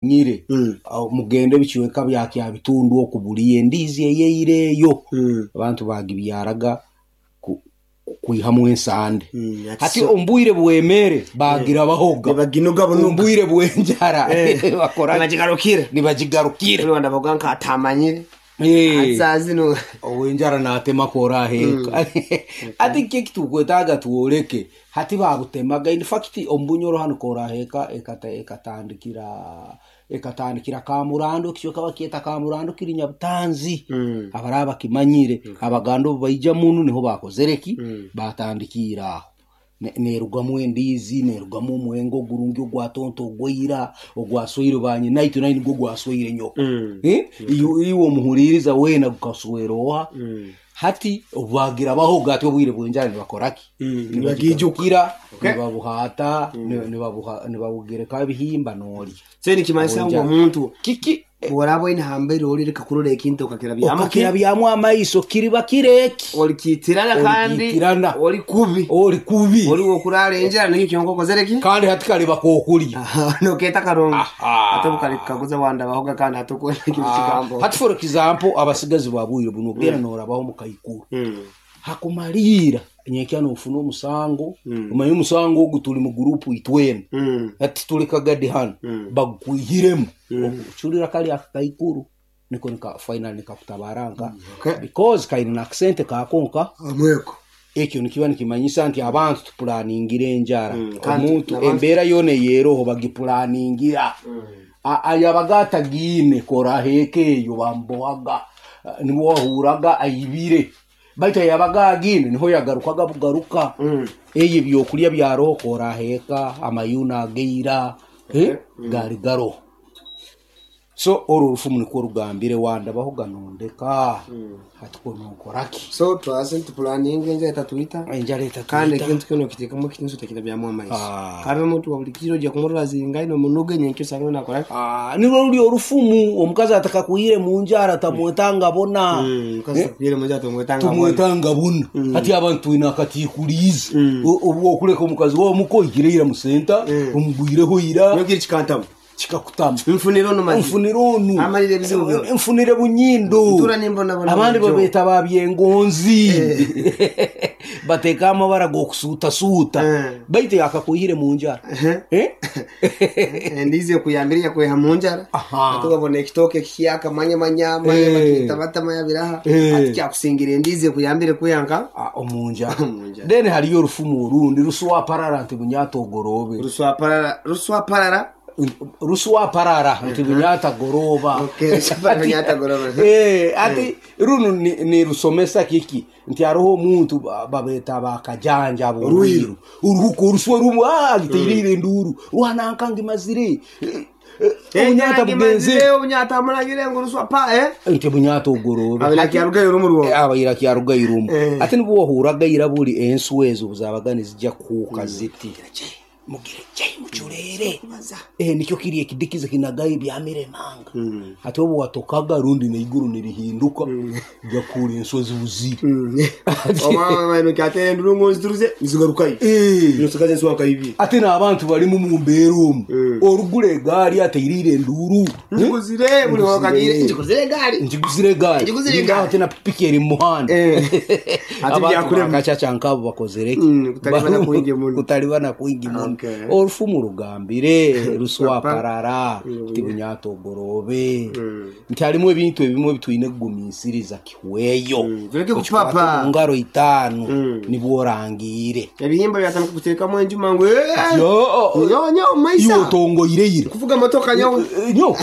Nyire mugende ebicweka bya Kyabitundu oku buliyo endiizi eyaira eyo abantu bagibyaraga kwihamu ensande. Hati omu bwire bw'emere bagirabahoga, Nibaginuga omu bunuga. bwire bw'enjara bakora ki? Nibagigarukira. Nibagigarukira. Rwanda bavuga nka atamanyire. Saa zino Ow'enjara natemako oraheeka. Hati kiki ekitukwetaaga twoleke, hati babutemaga, in fact omu Bunyoro hanu koraheeka ekatandikira Kamurando, ekicweka bakyeta Kamurando kiri Nyabutanzi, abaraba bakimanyire, Abaganda obu baija munu niho bakozere ki? Batandikiire aho. Nerugamu endiizi, nerugamu omwenge ogurungi ogwa tonto ogwaira, ogwasweire banyinaitwe nainwe nigwo gwasweire nyoko. Iwe omuhuliiriza weena gukaswera oha? Hati obu bagirabahoga hati obwire bw'enjara nibakora ki? Nibagiijukira, nibabuhaata, nibabugerekaho ebihimba noolya. So nikimanyisa ngu omuntu Kiki bw'oraaba oine hambere ori leka kurora ekintu okakirabyamu okakirabyamu amaiso kiriba kiro eki olikiitirana kandi Olikiitirana. oli kubi oli kubi oli w'okuraara enjara nikyo kyonka okozere ki kandi hati kaliba k'okulya. Nokeeta karungi Aha. ate obu wandabahoga kandi hati okwenda ekintu kigambo. Hati for example abasigazi ba bwire bunu ogenda norabaho omu kaikuru hakumaliira nyenkya nofuna omusango, omanye omusango ogu tuli mu gurupu itwena, hati tuli kagadi hanu bagukwihiremu ocurira kali akakaikuru niko nika final nikakutabara nka because kaine n'akasente kako nka Omweko. Ekyo nikiba nikimanyisa nti abantu tupulaningire enjara. Kandi Omuntu n'abantu embeera yoona eyeroho bagipulaningira. Ayabaga atagiine koraheeka eyo bamubohaga, nibwo wahuraga aibire, baitu ayabaga agiine niho yagarukaga bugaruka. Eyo ebyokulya byaroho koraheeka, amayuni agaira gaali garoho. So oru orufumu nikwo rugambire wandabahoga nondeka, hati kwo nonkora ki? So twaze nitupulaninga enjara etatwita Enjara kandi etatwita. ekintu kinu okiteekamu ekitiinisa otakirabyamu amaiso. Ah. Kandi omuntu wa buli kiro ojja kumurora azingaine omunuga nyenkya osange nakora ki? Nirwo ruri orufumu omukazi atakakwire mu njara tamwetanga bona. Omukazi atakwire mu njara tomwetanga bona. Tumwetanga bona. Hati abantu twine akatiikuliizi. Obu okuleka omukazi wawe omuka oihire ira mu senta, omugwireho ira. Nyowe kiri kikantama. Kikakutama. Nfunire onu mazima. Nfunire onu. Amalire ebizibu byona. Nfunire bunyindo. Ntura nimbonabona Abandi bulijjo. babeeta ba byengonzi. Bateeka amabara g'okusuutasuuta. Baitu yakakwihire mu njara. Endiizi ekuyambire yakwiha mu njara. Aha. Hati wabona ekitooke ekihyaka manya manya manya bakitabata manya biraha. Hati kyakusingira endiizi ekuyambire kwiha nka Omu njara. Omu njara. Then hariyo orufumu orundi ruswaparara nti bunyata ogoroobe. Ruswaparara ruswaparara. Ruswaparara nti bunyata goroba. Okay, ruswaparara bunyata goroba. Ati runu nirusomesa kiki nti hariho omuntu babeeta bakajanja ab'orwiru uruhuka oruswa rumu agiteirire enduuru rwananka ngimazire obunyata bugenze Obunyata munagire ngu ruswa pa nti bunyata ogorobe Abira kyarugayo rumu rwo. Abaira kyarugayo rumu. Ati nibwo wahuraga ira buli enswa ezo buzabaga nizijja kuhuuka ziti mugire jai mucureere nikyo kiri ekidikizi kinagayo ebyamiremanga. Hati obu watokaga rundi n'eiguru nirihinduka jakuhura enswa zibuzire. Omwana kyatera enduru ngu nzituruze nzigarukayo. Nosigaza enswa nka ibiri. Ate n'abantu barimu mu mbeera omu orugura egaari ateirire enduuru. Njiguzire buli wakagire njiguzire egaari. Njiguzire egaari. Njiguzire Ningaho egaari. ate na pikipiki eri mu muhanda. Ate Abantu byakurema. bakacaca nkabo bakozere ki? Kutalibana kwingi muno. Kutalibana kwingi muno. Orufumu rugambire ruswaparara nti bunyata ogoroobe nti harimu ebintu ebimwe ebitwine kugumiisiriza kihweyo. Tuleke Okikwate kupapa. omu ngaro itaano nibwo orangiire. Ebihimba byatandika kuteekamu enjuma ngu Yo, nyo nyo iwe maisa. otongoireire. Kuvuga motoka nyo. Nyo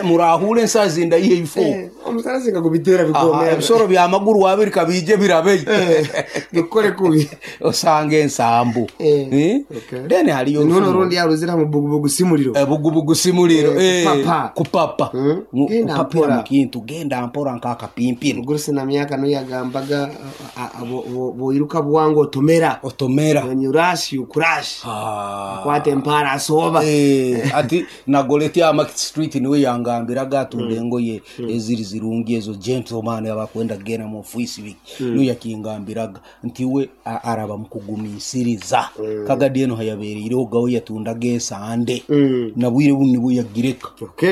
murahure ensazi ndayiha ebifo. Omusara singa kubitera bigomera. Ebisoro by'amaguru abiri kabije birabeyo. Bikore kubi. Osanga ensambu. Then hariyo Nuno orufumu. rundi yaruzira mu bugubugu simuliro. Bugubugu simuliro. Kupapa. Kupapa. Genda Kupapira mpora. mu kintu genda mpora nk'akapimpiri. Mugurusi na myaka no yagambaga boiruka bwangu otomera. Otomera. When you rush you crash. Akwata empara asoba. Ati nagoleti ya Market Street niwe yangambiraga atunda engoye eziri zirungi ezo gentleman abakwenda kugenda mu ofisi biki niwe yakingambiraga nti we araba mukugumiisiriza kagadi eno hayabereire. Ogawe yatundaga esande, na bwire bunu nibwo yagireka. Okay.